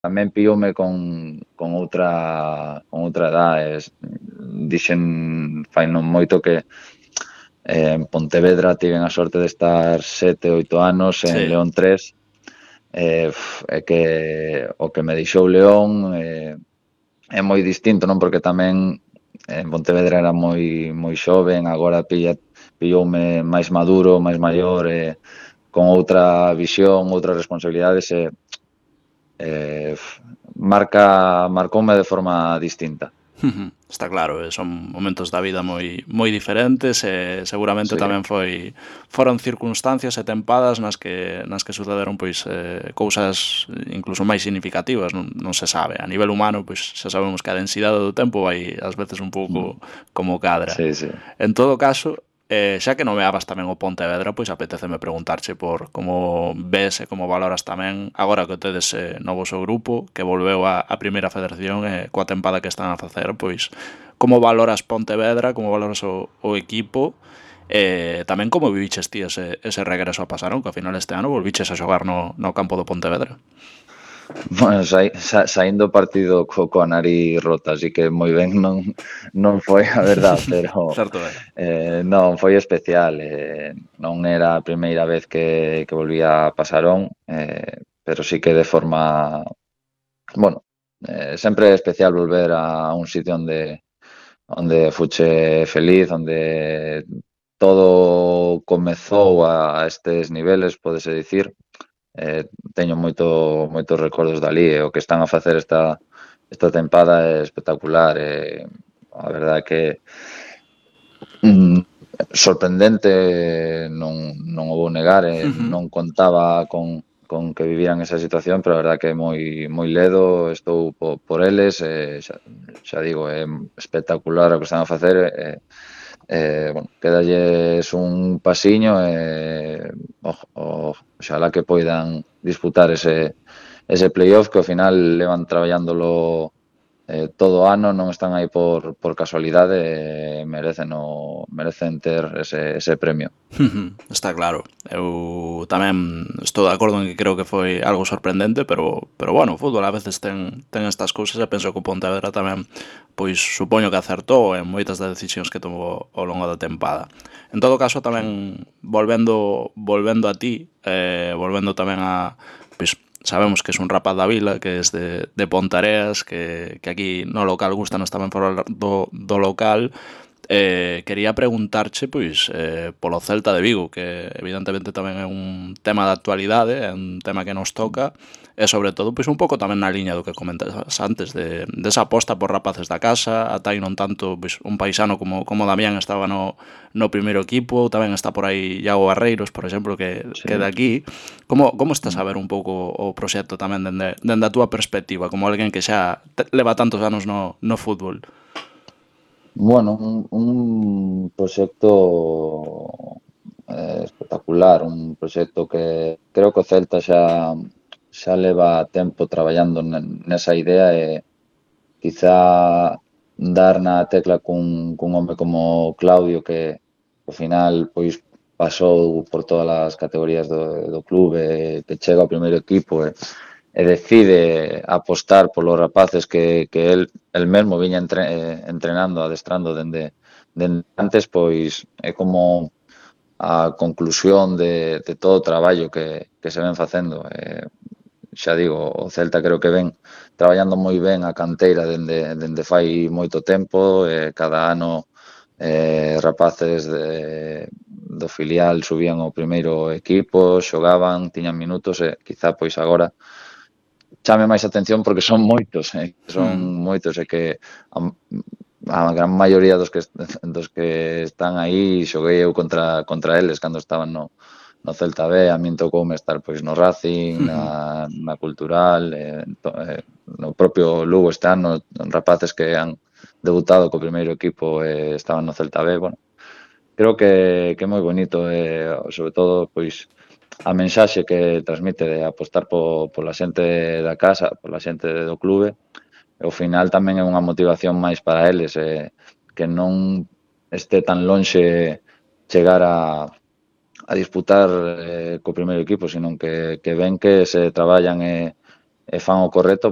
tamén pilloume con outra edade. Dixen fai non moito que en Pontevedra tiven a sorte de estar 7, 8 anos, en Sí. León 3, é que o que me deixou León é moi distinto, non? Porque tamén en Pontevedra era moi xoven, agora pilloume máis maduro, máis maior, con outra visión, outras responsabilidades, marcoume de forma distinta. Está claro, son momentos da vida moi diferentes e seguramente Sí. tamén foron circunstancias e tempadas nas que sucederon pois cousas incluso máis significativas, non se sabe. A nivel humano, pois xa sabemos que a densidade do tempo vai ás veces un pouco como cadra. Sí, sí. En todo caso, xa que nomeabas tamén o Pontevedra, pois apetéceme preguntarche por como ves e como valoras tamén agora que tedes novo seu grupo, que volveu a Primeira Federación e coa tempada que están a facer, pois como valoras Pontevedra, como valoras o equipo e tamén como viviches ti ese regreso a Pasarón, que ao final este ano volviches a xogar no campo do Pontevedra. Bueno, saindo o partido coa nariz rota, así que moi ben non foi a verdad, pero Certo é. non foi especial. Non era a primeira vez que volvía a Pasarón, pero sí que de forma, bueno, sempre é especial volver a un sitio onde fuche feliz, onde todo comezou a estes niveles, pódese dicir. Teño moitos recordos dali, e o que están a facer esta tempada é espectacular. A verdade é que mm, sorprendente, non o vou negar, non contaba con que viviran esa situación, pero a verdade que é moi ledo, estou por eles, xa digo, é espectacular o que están a facer. Bueno, quedalles un pasiño, oxalá que poidan disputar ese playoff, que ao final levan traballándolo todo o ano, non están aí por casualidade, merecen ter ese premio. Está claro. Eu tamén estou de acordo en que creo que foi algo sorprendente, pero bueno, o fútbol a veces ten estas cousas e penso que o Pontevedra tamén pois supoño que acertou en moitas das decisións que tomou ao longo da tempada. En todo caso tamén volvendo a ti, volvendo tamén a pois sabemos que es un rapaz da vila, que es de Pontareas, que aquí no local gustanos tamén falar do local. Quería preguntarche pois polo Celta de Vigo, que evidentemente tamén é un tema de actualidade, é un tema que nos toca e sobre todo pois un pouco tamén na liña do que comentas antes desa aposta por rapaces da casa, ata aí non tanto pois un paisano como Damián estaba no primeiro equipo, tamén está por aí Iago Barreiros, por exemplo, que de aquí. Como estás a ver un pouco o proxecto tamén dende a túa perspectiva, como alguén que xa leva tantos anos no fútbol? Bueno, un proxecto espectacular, un proxecto que creo que o Celta xa leva tempo traballando nesa idea, e quizá dar na tecla cun home como Claudio, que ao final pois pasou por todas as categorías do clube, que chega ao primeiro equipo e decide apostar polos rapaces que el mesmo viña entrenando, adestrando dende antes, pois é como a conclusión de todo o traballo que se ven facendo. Xa digo, o Celta creo que ven traballando moi ben a canteira dende fai moito tempo. Cada ano rapaces do filial subían ao primeiro equipo, xogaban, tiñan minutos, e quizá pois agora chame máis atención porque son moitos, e que a gran maioría dos que están aí xoguei eu contra eles cando estaban no Celta B. A min tocoume estar pois no Racing, na Cultural, no propio Lugo este ano, rapaces que han debutado co primeiro equipo e estaban no Celta B. Bueno, creo que é moi bonito, sobre todo pois a mensaxe que transmite de apostar pola xente da casa, pola xente do clube. E ao final tamén é unha motivación máis para eles, que non este tan lonxe chegar a disputar co primeiro equipo, sino que ven que se traballan e fan o correcto,